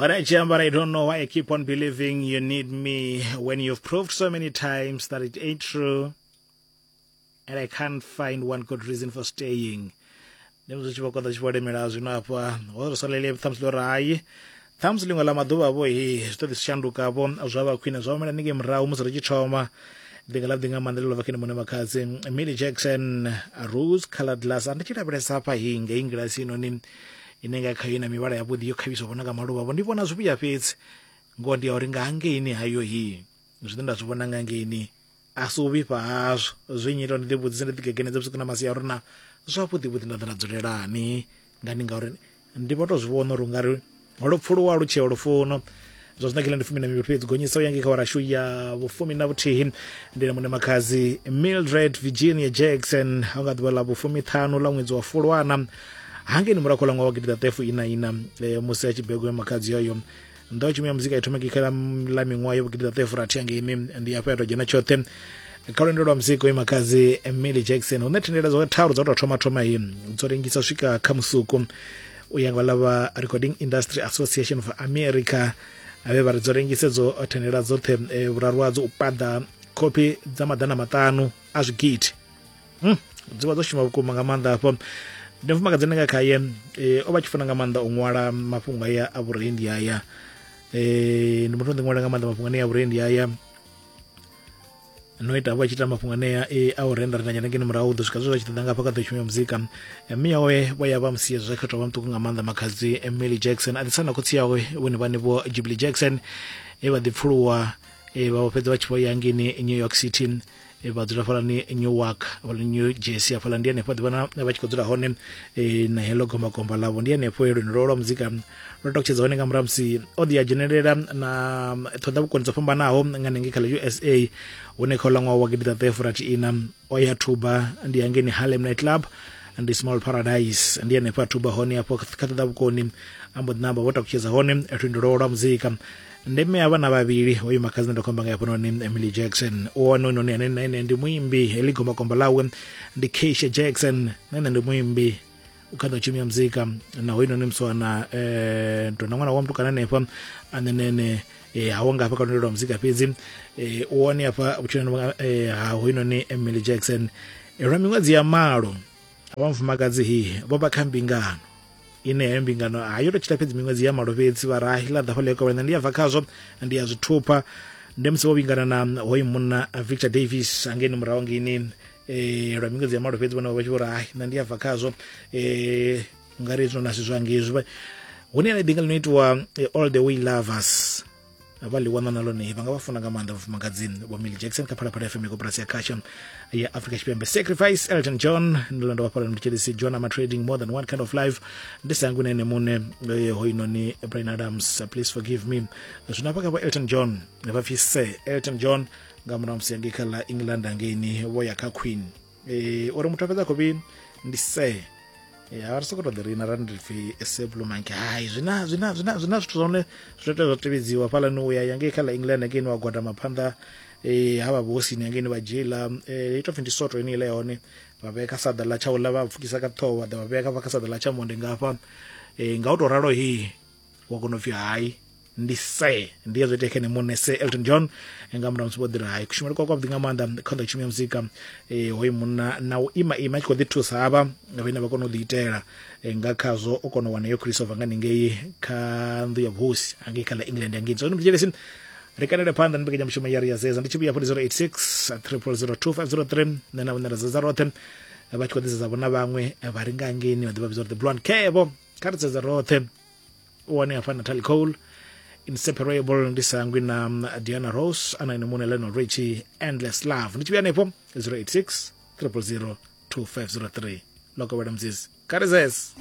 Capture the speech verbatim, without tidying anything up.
Alright, Jambara, I don't know why I keep on believing you need me when you've proved so many times that it ain't true, and I can't find one good reason for staying. Ndi musi tshi vho konḓa tshi vho lemela zwino hafha ho ri salele ṱhamusi ḽo ri hai ṱhamusi ḽiṅwe ḽa maḓuvha vho he zwi ḓo ḓi shanduka vho zwa vha khwine zwa humela ningei murahu musi ri tshi thoma ḓinga ḽa ḓi nga maanḓa ḽo vha khene muṋe makhadzi Millie Jackson rose colored glass. Ndi tshi lavhelesa hafha hi ngei ngilasi inoni ine nga khayo na mivhala ya vhuḓi yo khavhiswa vhona nga maluvha vho ndi vhona zwivhuya fhedzi ngoho ndi ya uri nga hangeini hayo hi zwine nda zwi vhona nga ngeini a si u vhifha hazwo zwi nyita ndi ḓivhudzise ndi ḓigegenedze vhusiku na masiari na zwavhuḓi vhuḓi nda ḓa nda dzulelani ngani ngauri ndi vho to zwi vhona uri ungari lupfuluwa lu tsheo lufuno zwa zwino kila ndi fumi na mivhili fhedzi gonyisa u ya ngei kha warashu ya vhufumi na vhuthihi ndi na muṋe makhadzi Mildred Virginia Jackson ha nga ḓuvha ḽa vhufumiṱhanu ḽa ṅwedzi wa Fulwana hangeini murahu kha ṅwaha wa gidiḓaṱefu ina ina e, musi a tshi begwa makhadzi yoyo nḓowetshumo ya muzika i thoma kha ḽa miṅwaha ya vhugidiḓaṱefu rathi hangeini ndi hafha ya tou dzhena tshoṱhe kha lwendo lwa muzika uyu makhadzi Millie Jackson hune thendela dza tharu dza u tou thoma thoma hi dzo rengisa swika kha musuku u ya nga ḽa vha Recording Industry Association of America avhe vha ri dzo rengise dzo thendela dzoṱhe e, vhuraru hadzo u paḓa khophi dza maḓana maṱanu a zwigidi hmm. dzi vha dzo shuma vhukuma nga maanḓa hafho ndi mufumakadzi ane nga khaye e, o vha tshi funa nga maanḓa u ṅwala mafhungo aya a vhurendi aya e, ndi muthu o ḓi ṅwala nga maanḓa mafhungo anea a vhurendi aya no ita vha tshi ita mafhungo anea e, a u renda renda nyana ngeni murahu ḓo swika zwe zwa tshi ṱoḓa nga hafha kha ḓo ya muzika mme yawe vho ya vha musia zwa khetwa vha muṱuku nga maanḓa makhadzi Millie Jackson a ḓisana khotsi yawe vhone vhane vho Jubilee Jackson e vha ḓi pfuluwa e, vha fhedza vha tshi vho ya ngeni New York City e, vha dzula fhalani Newark hafhaḽa New Jersey hafhaḽa ndi hanefho ḓi vhona vha tshi khou dzula hone e, na heḽo gombakomba ḽavho ndi hanefho lwendo lwa lwa muzika lwo takutshedza hone nga murahu musi o ḓi ya dzhenelela na ṱhoḓa vhukoni dzo fhambanaho nga hanengei kha ḽa U S A hune kha uḽa ṅwaha wa gidiḓaṱahe furathi ina o ya thuba ndi hangeini Harlem Night Club ndi Small Paradise ndi hanefho a thuba hone afho kha ṱhoḓa vhukoni a mbo ḓi namba vho takutshedza hone lwendo lwawe lwa muzika ndi mme a vhana vhavhili hoyu makhadzi ndo khomba nga hafhanoni Emily Jackson u wane noni ane na ene ndi muimbi heḽi gombakomba ḽawe ndi Keisha Jackson na ene ndi muimbi u kha ḓo tshumi ya muzika na hoyu noni muswana eh ndo na ṅwana wa mutukana hanefha ane nene eh hawo nga hafha kha lwendo lwa muzika fhedzi eh u wane hafha vhutshiloni eh ha hoyu noni Emily Jackson lwa miṅwedzi ya malo vha mufumakadzi hi vho vha kha mbingano ine heyo mbingano hayo to tshila fhedzi miṅwedzi ya malo fhedzi vha rahi ḽa ḓa fhaḽa kovhela ndi ya bva khazwo ndi ya zwithupha ndi musi vho vhingana na hoyu munna Victor Davis hangeini murahu ngeini eh lwa miṅwedzi ya malo fhedzi vhone vha tshi vho rahi nṋe ndi ya bva khazwo eh ngari zwino na zwizwa ngezwi hune ḽa ḓinga ḽino itiwa All the Way Lovers vha ḽi wana na ḽone vha nga vha funa nga maanḓa vhafumakadzi vho Millie Jackson kha Phalaphala F M koporasi ya khasho ya Afrika Tshipembe. Sacrifice Elton John ndi ḽo ndo vha fhala ndi John I'm trading more than one kind of life ndi sangu nene muṋe hoinoni Brian Adams please forgive me zwino hafha kha vho Elton John vha pfi Sir Elton John nga murahu musi ngei kha ḽa England ngeini vho ya kha Queen eh uri muthu a fhedza khou ndi Sir ya ri soko to ḓi rina ra ndi pfi Seblumanke hai zwina zwina zwina zwina zwithu zwone zwi tea zwa tevhedziwa fhala ni uya ngei kha ḽa England ngei wa gwada phanḓa eh ha vha vhosini ngei vha dzhiela eh ito pfi ndi soto ine ile hone vha vheka saḓa ḽa tshaula vha pfukisa ka ṱhoho vha ḓa vha vheka kha saḓa ḽa tsha monde ngafha eh nga u to ralo hi wa kona u pfi hai ndi se ndi zwo itea kha muṋe Sir Elton John nga murahu musi vho ḓira hai kushumele kwa kwavhuḓi nga maanḓa kha ḓo tshumi ya muzika eh hoyu munna na u ima ima tshi khou ḓi thusa havha vhane vha kona u ḓi itela nga khazwo o kona u wana yo Christopher nga ningei kha nnḓu ya vhuhosi hangei kha ḽa England ngei so ndi ri kanele phanḓa ndi mbekanyamushumo ya ri ya zeza ndi tshi vhuya zero eight six triple zero two five zero three nṋe na vhone ra zeza roṱhe vha tshi khou ḓi zeza vhona vhaṅwe vha ri nga ngeini vha ḓi vha vhidza uri the blonde kevo kha ri zeze roṱhe u wane hafha Natalie Cole Inseparable ndi sangwi na Diana Ross ana ine muṋe Lionel Richie Endless Love ndi tshi vhuya hanefho zero eight six triple zero two five zero three lokovhela mzizi kha ri zeze.